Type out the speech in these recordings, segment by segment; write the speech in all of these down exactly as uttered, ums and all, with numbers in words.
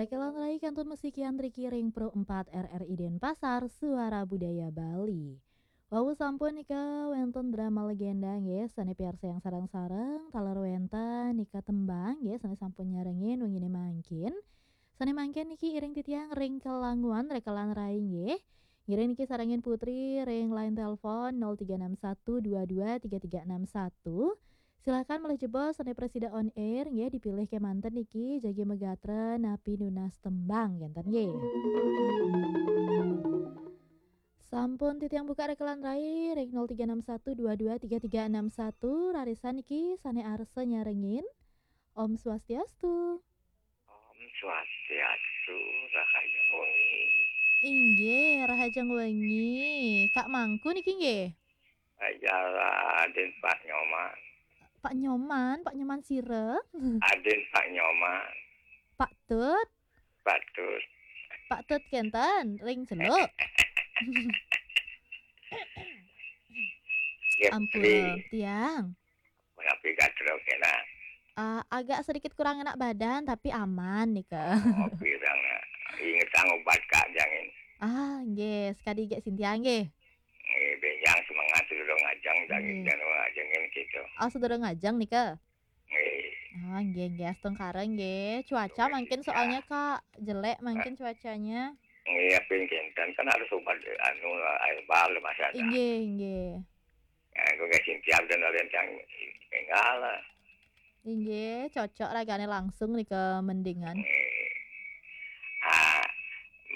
Kelan rai kantun musik Yandri Kiring Pro empat R R I Denpasar, Suara Budaya Bali. Wau sampun nika wénten drama legenda nggih, sané piarsayang sareng-sareng, taler wénten nika tembang nggih, sané sampun nyarengin wenginé mangkin. Sané mangkin niki iring titiang ring kelanguan rekelan rai nggih. Ngiring niki sarengin Putri ring line telepon nol tiga enam satu dua dua tiga tiga enam satu. Silakan malih jebos sané prasida on air nggih, dipilih kémanten niki jagi magatra napi nunas tembang kénten nggih. Sampun titiang buka rekelan rai ring nol tiga enam satu dua dua tiga tiga enam satu, rarisan niki sané arsa nyarengin. Om Swastiastu. Om Swastiastu, rahajeng wengi. Inggih, rahajeng wengi. Kak Mangku niki nggih? Ajalah, Adin Pak Nyoman. Pak Nyoman, Pak Nyoman sira? Adin Pak Nyoman. Pak Tut? Pak Tut. Pak Tut kénten, ring Celuk. Nggih, Ampura, Putri. Tiang. Menapi gatra kénak? Ah, agak sedikit kurang enak badan, tapi aman nika. Oh, pirang, nak. Ingetang obat, Kak, jangin. Ah, nggih, sekadi Kak Sintia nggih. Nggih, bénjang semangat sedurung ngajeng, jangin. Nggih. Jan ngajengin gitu. Oh, sedurung ngajeng nika? Nggih. Ah, nggih, nggih, astungkara nggih. Cuaca mangkin soalnya, Kak, jelek mangkin cuacanya. Nggih, tapi kénten kan harus obat, anu, air bal, Mas, ada. Inggih, inggih. Ya, aku nggak siap dan ada yang tinggal lah. Inggih, cocok ragané langsung nika mendingan. Nggih. Ah,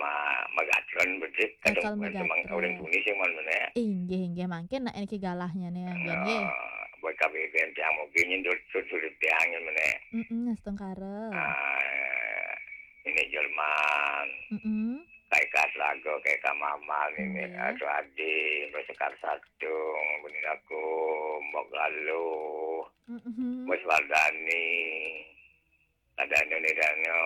ma-, magatron bedik, kadang Bakal bukan semang magatron. Orang Indonesia, man, mana ya? Inggih, inggih, mangkin nak niki galahnya nih, nggih, nggih. Ah, buat K B B M tiang mobil nyendut, sud, sud, tiang, mana ya? Mm-mm, astungkara. Ah, ini Jerman. Mm-mm. Kayak Kak Slago, kayak Kak Mamal, ini, nggih. Atau Adi, Mbak Sekar Satung, Bunda Kum, Mbok Galuh, mm-hmm. Mas Wardani, ada Noni Dano,